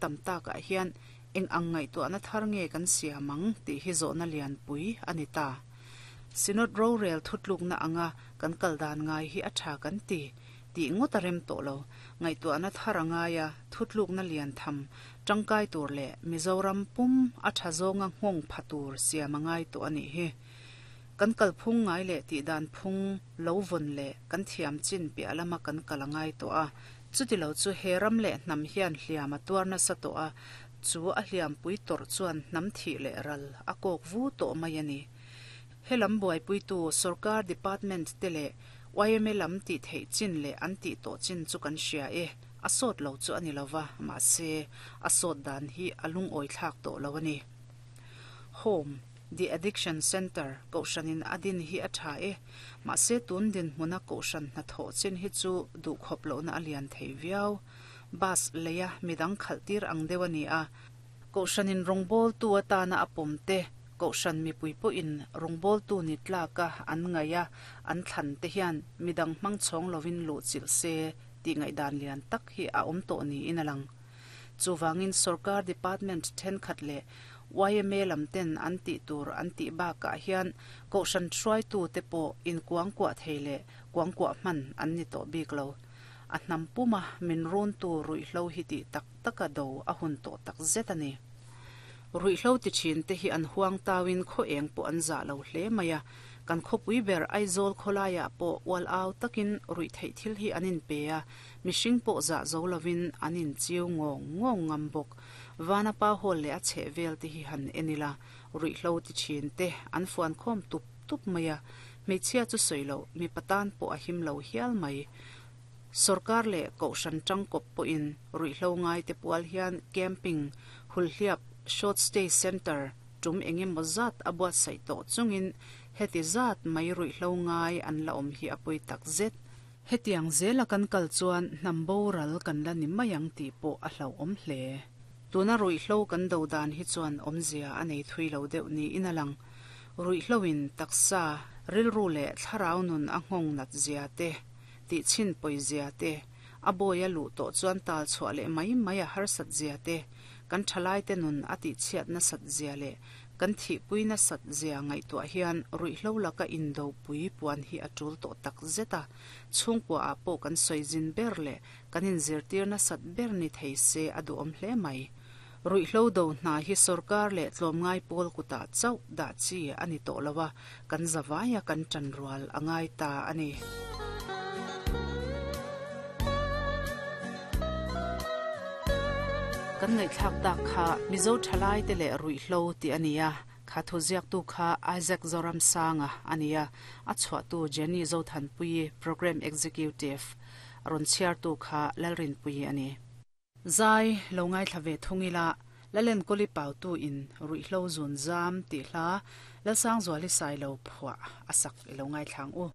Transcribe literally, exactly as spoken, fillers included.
tam takah hian eng ang ngaihtuahna thar nge kan siam ang tih hi zawhna lianpui a ni ta. Synod rorel thutlukna anga kan kal dan ngai hi a tha kan ti tih ngawt a rem tawh lo. Ngaihtuahna thar a ngai a, thutlukna lian tham tangkai tur leh Mizoram pum a tha zawnga nghawng pha tur siam a ngai tawh a nih hi. Kan kal phung ngai leh tih dan phung lo vawn leh kan thiam chin piah lama kan kal a ngai tawh a. Chuti lo chu he ram leh hnam hian hliam a tuar nasa tawh a, chu a hliam pui tawrh chuan hnam thih leh ral a kawk vu tawh mai a ni. Helam buaipuitu sorkar department te leh Y M A lam tih theih chin leh an tih tawh chin chu kan hria e, a sawt lo chu a ni lova, mahse a sawt dan hi a lungawi thlak tawh lo a ni. Home, The Addiction Center, kohhranin a din hi a tha e, mahse tun dinhmuna kohhran hnathawh chin hi chu duhkhawp lohna a lian thei viau. Bus leia midang khalh tir ang deuh a ni a, kohhranin rawngbawltu atana a pawm te, kohhran mipui pawhin rawngbawltu ni tlaka an ngaih a, an thlan te hian midang hmang chhawng lovin luh chilh se tih ngaihdan lian tak hi a awm tawh niin a lang. Chuwangin sorkar department thenkhat leh Y M A lam ten an tih tur an tih bakah hian kohhran hruaitu te pawh inkuangkuah thei leh kuangkuah hman an ni tawh bik lo. A hnam puma min run tu ruihhlo hi tih tak taka do a hun tawh tak zet a ni. Ruihhlo ti thin te hi an huang tawin khaw eng pawh an zah lo hle mai a, kan khawpui ber Aizawl khawlaiah pawh ual au takin ruih theih thil hi an in pe a, mihring pawh zah zo lovin an in chiu ngawng ngawng ngam bawk. Vanapa hall leh a chheh vel te hi han en ila, ruihhlo ti thin te an fuan khawm tup tup mai a, hmeichhia chu sawi lo mi patan pawh a him lo hial mai. Sorkar leh kohhran tangkawp pawhin ruihhlo ngai te pual hian camping, hulhliap, short stay center tum engemaw zat a buatsaih tawh chungin heti zat mai ruihhlo ngai an la awm hi a pui tak zet. Hetiang zela kan kal chuan hnam boral kan la ni mai ang tih pawh a hlauhawm hle. Tuna ruihhlo kan do dan hi chuan awmzia a nei thui lo deuh niin a lang. Ruihhloin taksa rilru leh thlarau nun a nghawng nat zia te, tih chin pawi zia te, a bawi a luh tawh chuan tal chhuah leh mai mai a harsat zia te, kan thalai te nun a tih chhiat na sat zia leh kan thihpui na sat zia ngaihtuah hian ruihhlo laka indo pui puan hi a tul tawh tak zet a, chhungkua ah pawh kan sawi zin ber leh kan inzirtir na sat ber ni thei se a duhawm hle mai. Ruihhlo do hna hi sorkar leh tlawmngai pawl kutah chauh dah chi a ni tawh lo a, kan zawaia kan tan rual a ngai ta a ni. Kan ngaihthlak tak kha Mizo thalai te leh ruihhlo tih a ni a, kha thu ziaktu kha Isaac Zoramsanga a ni a, a chhuahtu Jenny Zothanpui Program Executive rawn chhiartu kha Lalrinpui a ni. Zai lo ngaithla ve thungila lalen koli pautu in ruihhlo zun zam tih hla Lalsangzuali sai lo phuah a sak i lo ngaithlang u.